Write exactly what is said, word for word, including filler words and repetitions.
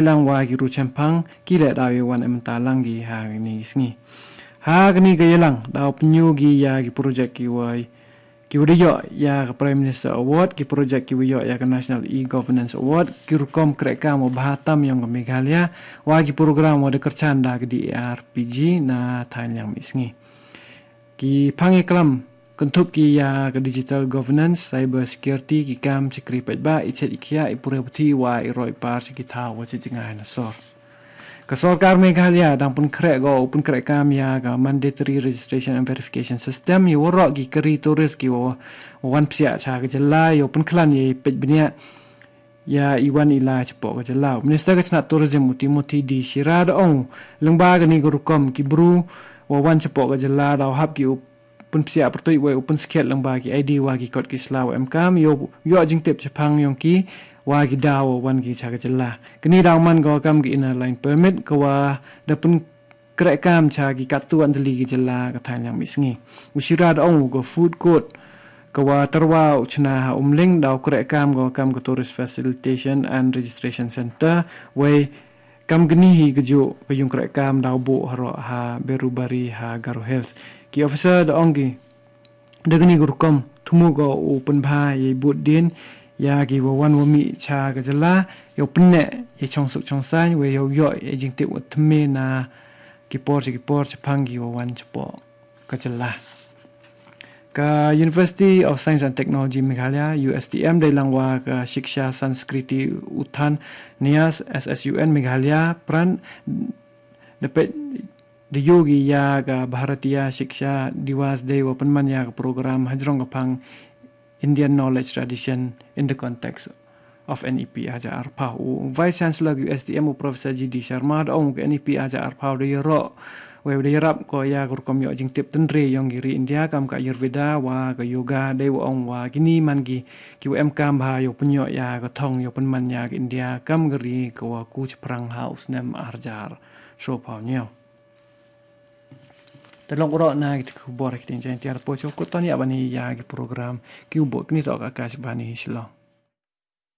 lang wa ki ru chemphang ki leh daw ïa wan em ta lang ki ha kani ki sngi. Ha kani ka ïalang daw pynïu ki ïa ki project ki wa ki wa da ïoh ïa ka Prime Minister Award, ki project ki wa ïoh ïa ka National E-Governance Award, ki rukom kreh kam wa bha tam yong ka Meghalaya, wa ki program wa da kyrchan da ka D A R P G na thaiñ liang mih sngi. Ki phang ïa klam kynthup ki ïa ka digital governance, cyber security, ki kam chakri paidbah, i chet i khiah, i pure puthi wa i roi par sha ki thaw wa chi jngai na sor. Ka sorkar Meghalaya dang pynkhreh go u pynkhreh kam ïa ka mandatory registration and verification system ïa waroh ki kari tourist ki wa wan psiah cha ka jylla ïa u pynkhlan ïa i peit bniah ïa i wan i la chapoh ka jylla. Minister ka chnat tourism u Timothy D Shira da ong lyngba kani ka rukom ki bru wa wan chapoh ka jylla daw hap ki u pynpsiah pyrtuid wei u pynskhet lyngba ki I D wa ki kot ki sla wa em kam ïoh ïoh jingtip chaphang yong ki wa ki daw wa wan ki cha ka jylla. Kani daw man ka wa kam ki inner line permit ka wa da pynkreh kam cha ki katto katne tylli ki jylla ka thaiñ liang mih sngi. U Shira da ong ka food court ka wa tyrwa u chna ha Umling daw kreh kam ka wa kam ka tourist facilitation and registration center wei kam kani hi ka ju ka yung kreh kam daw buh haroh ha Berubari ha Garo Hills. Ki officer da ong ki da kani ka rukom thmu ka u pynbha ïa i bud din ïa ki wa wan wa mih cha ka jylla ïa u pynneh ïa chong suk chong saiñ wei ïa u ïoh ïa jingtip wa thymme na ki por cha ki por chaphang ki wa wan chapoh ka jylla. Ka University of Science and Technology Meghalaya, U S T M, dei lang wa ka Shiksha Sanskriti Utthan Nyas, S S U N, Meghalaya, Pran, da peit da ïoh ki ïa ka Bharatiya Shiksha Diwas dei wa pynman ïa ka program hajrong ka phang Indian Knowledge Tradition in the Context of N E P hajar arphaw. U Vice Chancellor U S T M u Professor G D Sharma da ong ka N E P hajar arphaw da ïaroh wei da ïarap ko ïa ka rukom ïoh jingtip tynre yong ki ri India kam ka Ayurveda wa ka yoga dei wa ong wa kini man ki ki wa em kam bha ïoh pynïoh ïa ka thong ïoh pynman ïa ka India kam ka ri ka wa ku chaphrang ha u snem arjar shophaw ñiew. Te long u roh na ki khubor ki tin jai tiar po cho ko ton ïa bani ïa ki program ki u bot kini to ka Akashvani Shillong.